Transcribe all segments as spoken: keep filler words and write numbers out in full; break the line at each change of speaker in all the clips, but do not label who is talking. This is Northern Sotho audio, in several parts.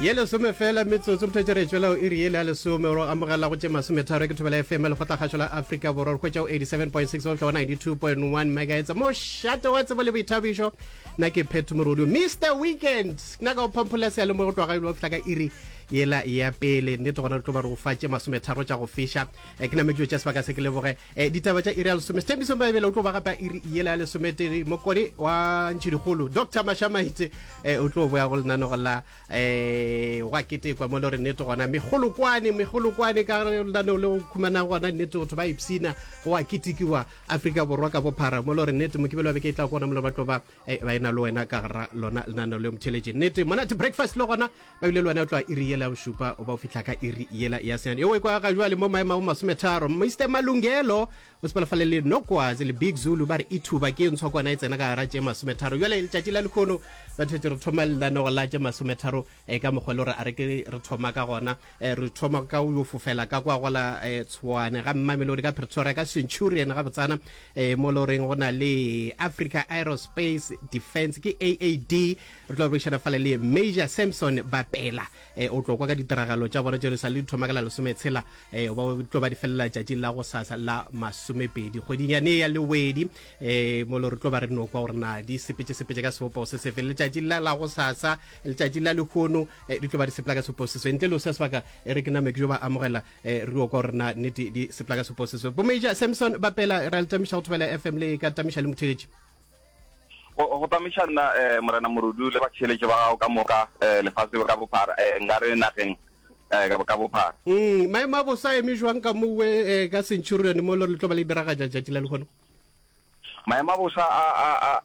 Ye lesome fela metsotso, mothetše re tšwela o iri yele ya lesome ro amogela go tše masometharo ke Thobela F M lekgotlakgašo la Afrika Borwa re hwetša o eighty-seven point six go fihla go ninety-two point one megahertz. Mošate wa tsebo le boithabišo, nna ke Phetho Morodu, Mister Weekend, nna ka o phamphola seyalemoya go tloga go fihla ka iri yela ya pele. Nnete gona re tlo ba re go fa tše masometharo tša go fiša. Eh, ke name ke tša sebaka se ke leboge. Eh, ditaba tša iri ya lesome Sethembiso Mabele o tlo ba gape iri yela ya lesometee. Mokone wa Ntšhidikgolo Doctor Mashamaite eh, o tlo boya go lenanego la eh, gwa ketekwa mo le gore nnete gona megolokwane megolokwane ka lenaneo le go khumana gona nnete batho ba ipsina go a ketekiwa Afrika Borwa ka bophara mo le gore nnete mokibelo wa beke e tla kona mo le ba tlo ba eh, ba ena le wena ka gara lona lenaneo le motheletše. Nnete monate breakfast le gona ba bile le wena o tloga iri yela ya bošupa o ba o fihla ka iri yela ya senyane. Eo e kwa ga jwale mo maemo a bo masometharo Mister Malungelo o sepela fale le Nokwazi le Big Zulu ba re ithuba ke ntshwa kwana e tsena ka gara tše masometharo. Jwale letšatši la lehono ba thetse re thoma lenanego la tše masometharo eh, ka mokgwa le gore a re ke re thoma ka gona. Eh, re thoma ka o yo fofela ka kwa gola eh, Tshwane ga Mamelodi ka Pretoria ka Centurion ga botsana eh, mo le goreng go na le Africa Aerospace Defense ke A A D. Re tlo boledišana fale le Major Samson Bapela eh, o tlo kwa ka ditiragalo tša bona tše re sa le di thoma ka la lesometshela eh, ba tlo ba di felela tšatši la go sasa la masomepedi kgweding yane ya Lewedi eh, mo le re tlo ba re no kwa gore na di sepetse sepetse ka sebopo se sefe letšatši la la go sasa letšatši la lehono eh, di tlo ba di sepela ka sebopo se sefe ntle le o se sebaka e re ke name ke jo ba amogela eh, re yo kwa gore na nnete di sepela ka sebopo se sefe. Bo Major Samson Bapela ra le tamiša go Thobela F M le ka tamiša le motheletši.
Go go tamiša nna eh, Morena Morudu le batšheletše ba gago ka moka eh, lefase ka bophara eh, nka re nageng eh, ka ka bophara.
Mm, maemo a bosa a eme jwang ka mowe eh, ka Centurion mo le tlo ba le diragatša tšatši la lehono?
Maemo a bosa a a a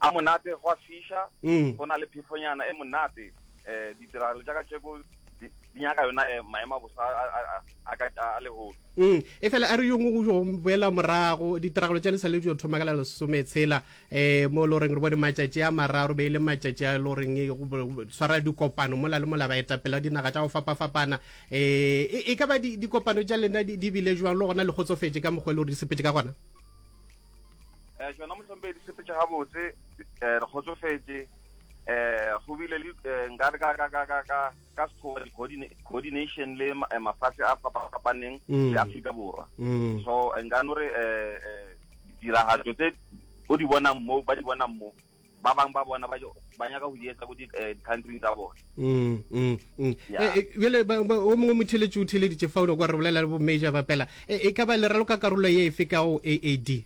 a monate, go a fiša,
Mm.
go na le phefonyana e monate. Eh, ditiragalo tša kajeko di di nyaka yona eh, maemo a bosa a a a a ka a lehono.
Mm, e fela a re yo ngwe go boela morago ditiragalo tša le sa le di thoma ka la lesometshela eh, mo le goreng re bone matšatši a mararo be e le matšatši a le goreng e, go swara dikopano mola le mola baetapele ba dinaga tša go fapafapana eh, e, e ka ba di, dikopano tša lena di, di bile jwang le gona le kgotsofetše ka mokgwa e le gore di sepetše ka gona?
Eh, tšona mohlomphegi di sepetše gabotse, eh, re kgotsofetše. Eh, go bile le eh, nka re ka ka ka ka ka ka sekgowa di coordination le ma- mafatshe a fapafapaneng
Mm.
le Afrika Borwa.
Mm.
So nka no re eh, eh, ditiragatšo tse o di bonang mo ba di bonang mo ba bang ba bona ba ba nyaka go di etsa ko di eh, di-country tsa bona.
Mm, mm, mm.
Yeah.
Eh, eh, bjale ba- ba- o mongwe motheletši o theleditše fa o kwa re bolela le bo Major Bapela e, e ka ba le raloka karolo ye efe ka go A A D?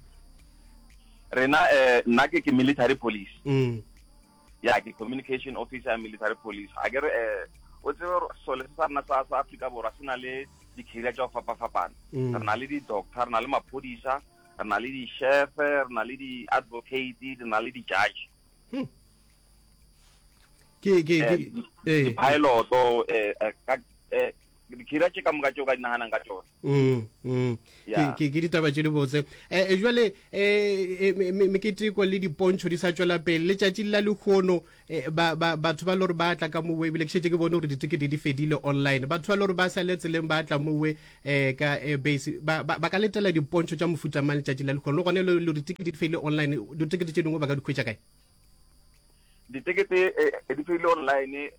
Rena eh, nna ke ke military police.
Mm.
Ya ke communication officer ya military police. A ke re eh, o tsebe gore sole se sa rena sa sa Afrika Borwa se na le di-career tša go fapafapana.
Mm.
Re na le di-doctor, re na le maphodisa, re na le di-chef, re na le di-advocate, re na le di-judge.
Hmm. Ke ke ke
Eh,
eh.
di-piloto eh, eh, ka eh, di-career tše ka moka tšeo ka di naganang ka tšona.
Mm, mm. Ke
Yeah.
ke ke ditaba tše di botse. Eh, eh, jwale eh, eh, me- me- meketeko le dipontšho di sa tšwela pele letšatši la lehono eh, ba ba batho ba le gore ba tla ka mowe ebile ke šetše ke bone gore ditekete di fedile online. Batho ba le gore ba sa le tseleng ba tla mowe eh, ka airbase ba, ba, ba ka letela dipontšho tša mofuta mang letšatši la lehono le gone le le ditekete di fedile online, ditekete tše dingwe ba ka di hwetša kae?
Ditekete eh, di fedile online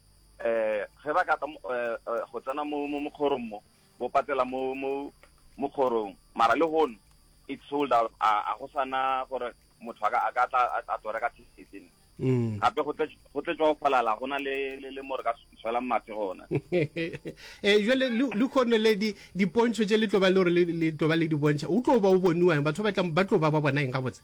eh ge ba ka tla mo- eh, eh, go tsena mo mo mokgorong mo bo patela mo mo mokgorong mara le hono it's sold out a a go sana gore motho a ka a ka tla a a tlo reka ticket
Mm.
gape go tle go tletšwa go falala go na le le le mo re ka swelang mathe gona.
Eh, jwale le le kgone le di dipontšho tše le tlo ba le gore le le tlo ba le di bontšha o tlo ba o boniwang batho ba tla ba tlo ba ba bona eng gabotse?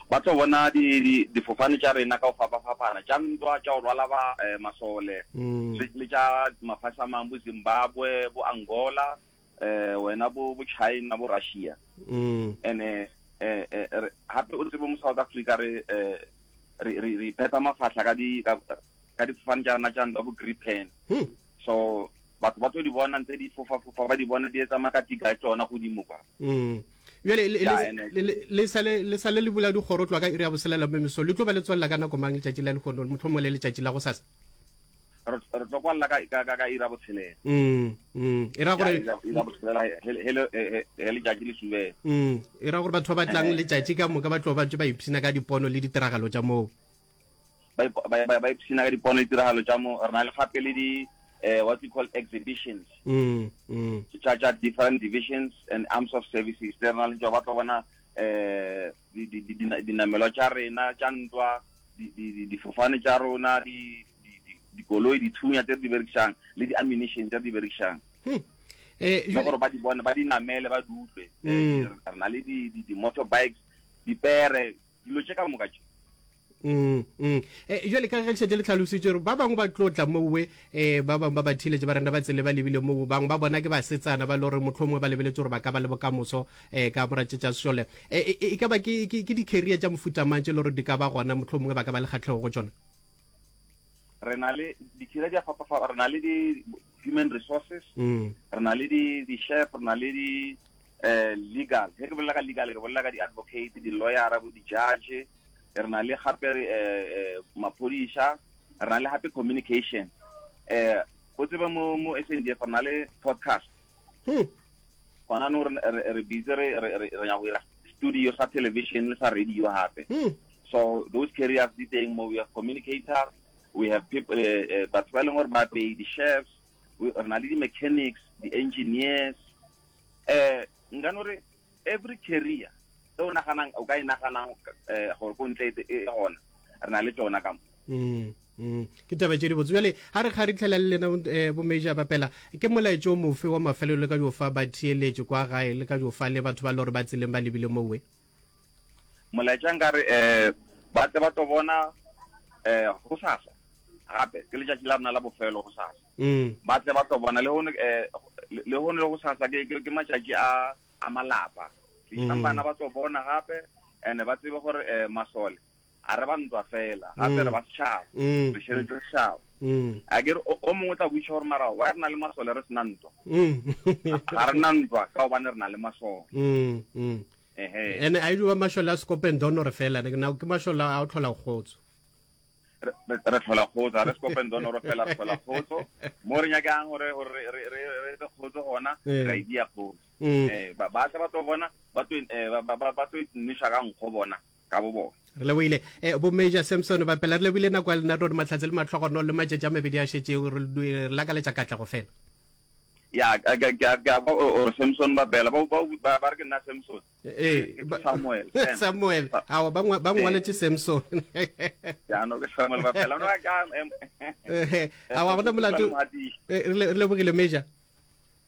Ba tlo bona di di difofane tša rena ka go fapafapana tša ntwa tša go rwala ba eh, masole
Mm.
le le tša mafase a mangwe bo Zimbabwe bo Angola eh wena bo bo China bo Russia.
Mm.
Ene eh eh re hape o tsebe mo South Africa re eh re re re phetha mafahla ka di ka ka difofane tša rena tša ntwa bo Gripen.
Hmm.
So batho ba tlo di bona ntse di fofa fofa ba di bona di etsa makatika a tšona godimo kwa.
Mm. Bjale le-
Ya,
le-
ene.
le le- le sale le sale le bula dikgoro tloga ka iri ya boselela mo mesong le tlo ba le tswelela ka nako mang letšatši la lehono mohlomongwe le letšatši la gosasa?
Re re tlo kwalla ka ka ka ka iri ya botshelela.
Mm, mm. E ra
Ya,
gore
iri ya- iri ya botshelela he he he he he letšatši le subela.
mm, e ra gore batho ba ba tlang
Eh.
letšatši ka moka ba tlo ba ntse ba ipshina ka dipono le ditiragalo tša moo.
ba ba ba ipshina ka dipono le ditiragalo tša mo. Re na le gape le di uh, what we call exhibitions
mm, mm.
tša tša different divisions and arms of services. Re na le tšo ba tlo bona eh dinamelwa tša rena tša ntwa, difofane tša rona, dikoloi, dithunya tse re di berekišang le di-ammunition tse re di berekišang,
hmm. eh,
le gore ba di bone, ba di namele, ba di utlwe. Re na le di-motorbikes, dipere, dilo tše ka moka tše.
Mm, mm. Eh, jale ka ge šetse le tlhalositse gore ba bangwe ba tlo tla mowe, um ba bangwe ba ba thiletše ba rena ba tsele ba lebile moo, bangwe ba bona ke basetsana ba le gore mohlomongwe ba lebeletse gore ba ka ba le bokamoso um ka moratše tša sešole, e ka ba ke di-career tša mofuta mang tše le gore di ka ba gona, mohlomongwe ba ka ba le kgatlhego go tšona?
Re na le di-career di a fapafapa. Re na le di-human resources,
mm.
re na le di-chef, re na le di um legal. Ge ke bolela ka legal, ke bolela ka di-advocate, di-lawyera, bo di-judge. Re na le gape eh maphodisa, re na le gape communication. eh go tseba mo mo S N D F re na le podcast.
Hmm.
Gona no re re busy re re re ya go dira studio sa television le sa radio gape.
Hmm.
So those careers di teng mo. We have communicators, we have people, eh batho ba e leng gore ba pay, di-chefs, re na le di-mechanics, di-engineers. eh nka no re every career e o naganang, o ka e naganang um gore ko ntle e gona, re na le tsona ka mo.
Mm, mm. ke taba tše dibotse. Jale ga re ga re tlhela le lena, um bo Major Bapela, ke molaetso o mofe wa mafelelo le ka dio fa batheeletše kwa gae, le ka dio fa le batho ba le gore ba tseleng ba lebile mowe?
Molaetša nkare um ba tle ba tlo bona um gosasa gape ke letšatši la rena la bofelo gosasa.
Mm.
Ba tle ba tlo bona le gone um le gone le gosasa ke ke matšatši a a malapa. Tlisang bana ba tlo bona gape, and ba tsebe gore um masole a re ba ntwa fela, gape re ba setšhaba, re šireletše setšhaba. A ke re o mongwe o tla botšiša gore mara wa re na le masole re sena ntwa? Ga re na ntwa ka gobane re na le masole. Ehe.
Ene a e ba mašole a sekopendonore fela, na ke mašole a o tlhola kgotso?
Re re tlhola kgotso, ga re sekopendonoro fela, re tlhola kgotso. Mo re nyakang gore gore re re re re kgotso gona,
Eh.
ra e dia kgotso.
Mm.
Eh ba ba tla ba tlo bona, ba tlo eh, ba ba ba tlo nweša ka nkgo bona ka bo bona.
Re leboile, um bo Major Samson Bapela, re leboile nako ya lena. Rore mahlatse le matlhogono le matšatši a mabedi a šetšego, re re lakaletša katlego fela.
Ya, ke ke ke a kwa o re Samson Bapela, ba ba ba ba re ke nna Samson.
Ee.
Ke
ba-
Samuel, Sam.
Samuel, awa, ba ngwa- ba ngwaletše Samson.
Ya no, ke Samuel Bapela no ka em.
Eh, awa, gona molato. Eh, re le- re lebogile, Major.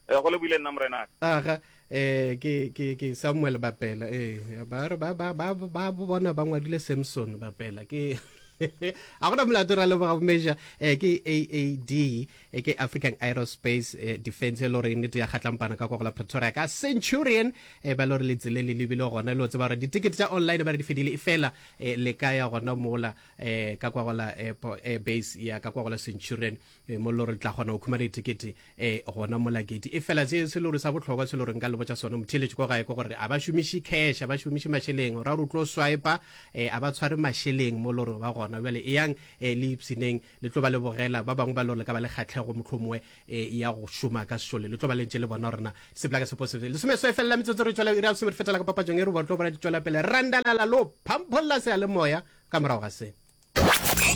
Eh go le buile nna, morena.
Aga, eh ke ke ke Samuel Bapela. Eh ba re ba ba ba ba bona ba ngwadile Samson Bapela, ke a gona molato. Ra leboga, Major. eh ke A A D, eh, ke African Aerospace eh, Defense, e le gore nnete ya kgatlampana ka kwa go la Pretoria ka Centurion. eh ba le gore letsele le lebile gona, le o tseba gore ditikete tša online ba re di fedile, e fela eh, le ka ya gona mola eh ka kwa go la airport, air base ya ka kwa go la Centurion, eh, mo le gore le tla kgona go khumana ditikete eh gona mola gate. E fela se se le gore sa bohlokwa se le gore nka le botša sona, motheeletši kwa gae, ke gore a ba šomiše cash, a ba šomiše mašeleng, ra gore o tlo swipa, eh a ba tshware mašeleng mo le gore ba gona. Bjale eyang eh le ipshineng, le tlo ba le bogela ba bangwe ba le gore le ka ba le kgatlhego mohlomongwe eh ya go šoma ka sešole, le tlo ba le ntše le bona gore na sepela ka sepo sefe. Lesome so e felela metsotso, re tšwela iri ya lesome, re fetela ka papatšong e re ba tlo bona di tšwela pele randalala lo phampholla seyalemoya ka morago ga se.